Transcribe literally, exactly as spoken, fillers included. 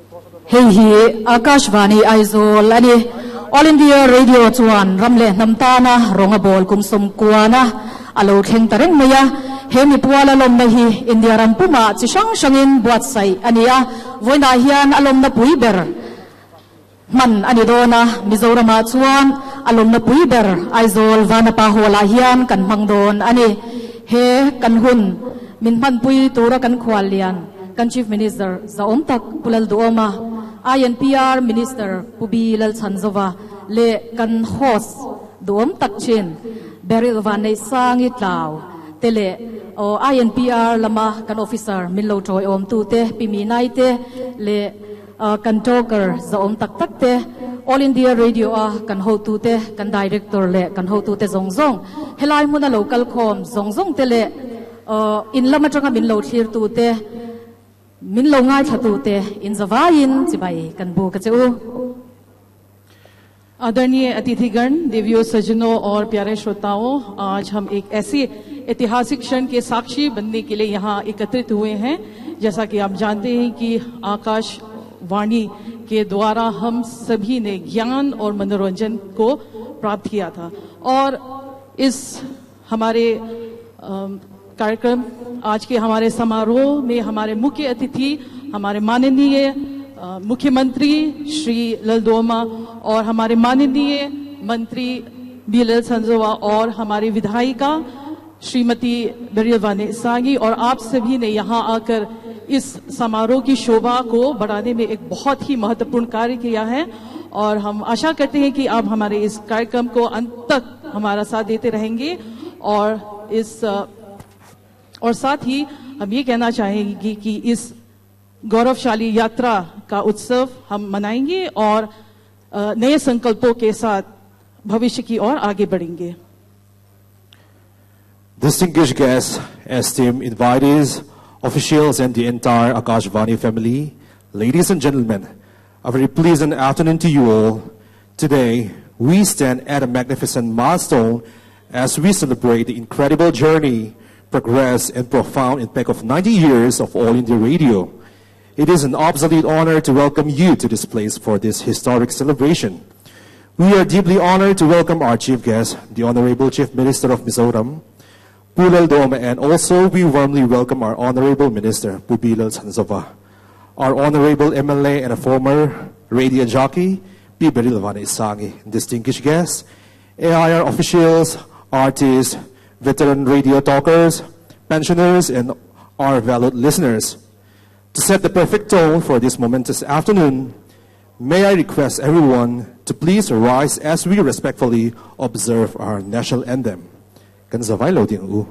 Hei hi Akashvani Aizawl ani. All India Radio chuan ram leh hnam tana rawng a bawl kum sawmkuana a lo thleng ta reng mai a. He mi puala lawmna hi India ram puma chi hrang hrangin buatsaih ani a. Vawiinah hian a lawmna pui ber man ani dawn a. Mizoramah chuan a lawmna pui ber Aizawl Vanapa Hall-ah hian kan hmang dawn ani. He kan hun min hmanpui tura kan khual lian kan Chief Minister Zaawm tak Pu Lalduhoma, I N P R Minister Pu B Lalchhanzova le kan host duhawm tak thin Beryl Vanneihsangi Tlau te le o I N P R lama kan officer min lo tawi awm tu te Pi Mi Nai te le kan talker zaawm tak tak te, All India Radio a kan hotu te, kan director le kan hotu te zong zong, helai hmuna local khawm zong zong te le in lama tanga min lo thlir tu te, min lo ngai thatu te, in zawain chibai kan bu ka cheu. आदरणीय अतिथिगण, देवियों, सज्जनों और प्यारे श्रोताओं, आज हम एक ऐसे ऐतिहासिक क्षण के साक्षी बनने के लिए यहाँ एकत्रित हुए हैं। जैसा कि आप जानते हैं कि आकाशवाणी के द्वारा हम सभी ने ज्ञान और मनोरंजन को प्राप्त किया था और इस हमारे कार्यक्रम, आज के हमारे समारोह में हमारे मुख्य अतिथि, हमारे माननीय मुख्यमंत्री श्री ललदोमा और हमारे माननीय मंत्री बी लालचhanzova और हमारी विधायिका श्रीमती बेरिल वानेसांगी और आप सभी ने यहाँ आकर इस समारोह की शोभा को बढ़ाने में एक बहुत ही महत्वपूर्ण कार्य किया है और हम आशा करते हैं कि आप हमारे इस कार्यक्रम को अंत तक हमारा साथ देते रहेंगे और इस और साथ ही हम ये कहना चाहेंगे कि इस गौरवशाली यात्रा का उत्सव हम मनाएंगे और नए संकल्पों के साथ भविष्य की ओर आगे बढ़ेंगे। Distinguished guests, esteemed invitees, officials, and the entire Akashvani family, ladies and gentlemen, a very pleasant afternoon to you all. Today, we stand at a magnificent milestone as we celebrate the incredible journey, progress, and profound impact of ninety years of All India Radio. It is an absolute honor to welcome you to this place for this historic celebration. We are deeply honored to welcome our chief guest, the Honorable Chief Minister of Mizoram, Pu Lalduhoma, and also we warmly welcome our Honorable Minister, Pu B Lalchhanzova, our Honorable M L A and a former radio jockey, Pi Beryl Vanneihsangi, distinguished guests, A I R officials, artists, veteran radio talkers, pensioners, and our valued listeners. To set the perfect tone for this momentous afternoon, may I request everyone to please rise as we respectfully observe our national anthem. Kan zawai lo ding u.